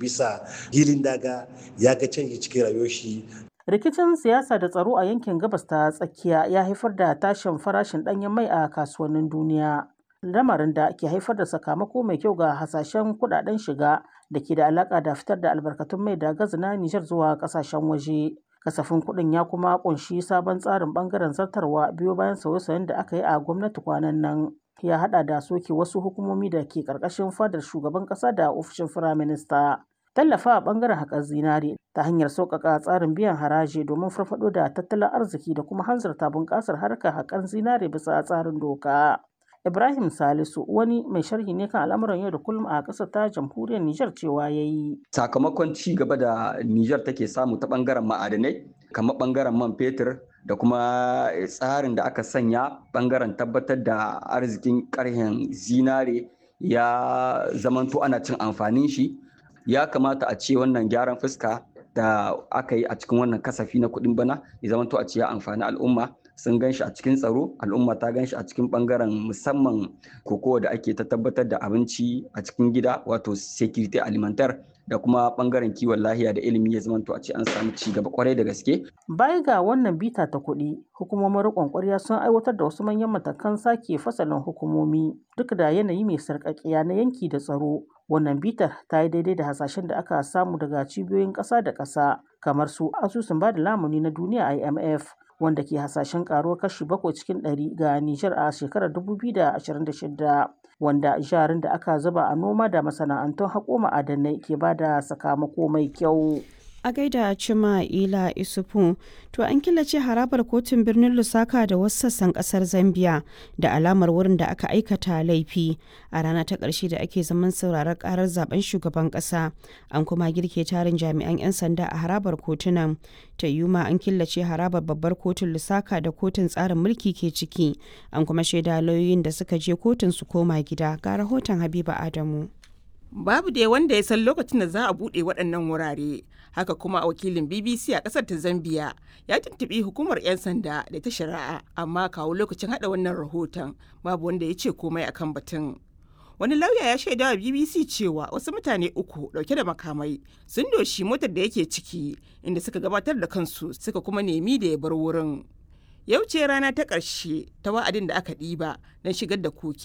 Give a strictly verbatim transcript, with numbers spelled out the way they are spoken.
bisa hilin daga, ya ga canji cikin rayuwar shi. Rikicin siyasa da tsaro a yankin Gabas ta Tsakiya ya haifar da tashin farashin ɗanyen mai a kasuwannin duniya, lamarin da ke haifar da sakamako mai kyau ga hasashen kudaden shiga da ke da alaƙa da fitar da albarkatun mai da gas na Nijar zuwa ƙasashen waje. Kasafin kuɗin ya kuma ƙunshi sabon tsarin ɓangaren zartarwa biyo bayan sauye-sauyen da aka yi a gwamnati kwanan nan. Ya haɗa da soke wasu hukumomi da ke ƙarƙashin fadar shugaban ƙasa da ofishin firaminista. Tallafa a ɓangaren haƙar zinare ta hanyar sauƙaƙa tsarin biyan haraji domin farfaɗo da tattalin arziki da kuma hanzarta bunƙasar harkar haƙar zinare bisa tsarin doka. Ibrahim Salisu wani mai sharhi ne kan al'amuran yau da kullum a ƙasar ta jamhuriyar Nijar cewa ya yi. Sakamakon ci gaba da Nijar take samu ta ɓangaren ma'adanai, kamar ɓangaren man fetur da kuma tsarin da aka sanya ɓangaren tabbatar da arzikin ƙarhen zinare ya zamanto ana cin amfanin shi. Ya kamata a ce wannan gyaran fuska da aka yi a cikin wannan kasafi na kuɗin bana ya zamanto a ce ya amfani al'umma. Sun gan shi a cikin tsaro, al'umma ta gan shi a cikin bangaren musamman kokowa da ake ta tabbatar da abinci a cikin gida, wato security alimentaire, da kuma bangaren kiwon lahiya da ilimi, ya zamanto a ce an samu ci gaba kwarai da gaske. Baya ga wannan bita ta kuɗi, hukumomin riƙon ƙwarya sun aiwatar da wasu manyan matakan sake fasalin hukumomi duk da yanayi mai sarƙaƙiya na yanki da tsaro. Wannan bitar ta yi daidai da hasashen da aka samu daga cibiyoyin ƙasa da ƙasa kamar su Asusun Bada Lamuni na Duniya I M F, wanda ke hasashen karuwar kashi bakwai cikin ɗari ga Nijar a shekarar dubu biyu da ashirin da shida, wanda jarin da aka zuba a noma da masana'antun haƙo ma'adanai ke ba da sakamako mai kyau. A gaida Cima Ila Isufu. To, an killace harabar kotun birnin Lusaka da wasu sassan kasar Zambia da alamar wurin da aka aikata laifi a rana ta ƙarshe da ake zaman sauraron karar zaben shugaban ƙasa. An kuma girke tarin jami'an 'yan sanda a harabar kotunan. Ta yuma an killace harabar babbar kotun Lusaka da kotun tsarin mulki ke ciki. An kuma shaida lauyoyin da suka je kotun su koma gida. Ga rahoton Habiba Adamu. Babu dai wanda ya san lokacin da za a buɗe waɗannan wurare. Haka kuma wakilin B B C a ƙasar ta Zambia ya tuntuɓi hukumar 'yan sanda da ta shari'a, amma kawo lokacin haɗa wannan rahoton babu wanda ya ce komai akan batun. Wani lauya ya shaida wa B B C cewa wasu mutane uku ɗauke da makamai sun doshi motar da yake ciki, inda suka gabatar da kansu suka kuma nemi da ya bar wurin. Yau ce rana ta ƙarshe ta wa'adin da aka ɗiba don shigar da koke.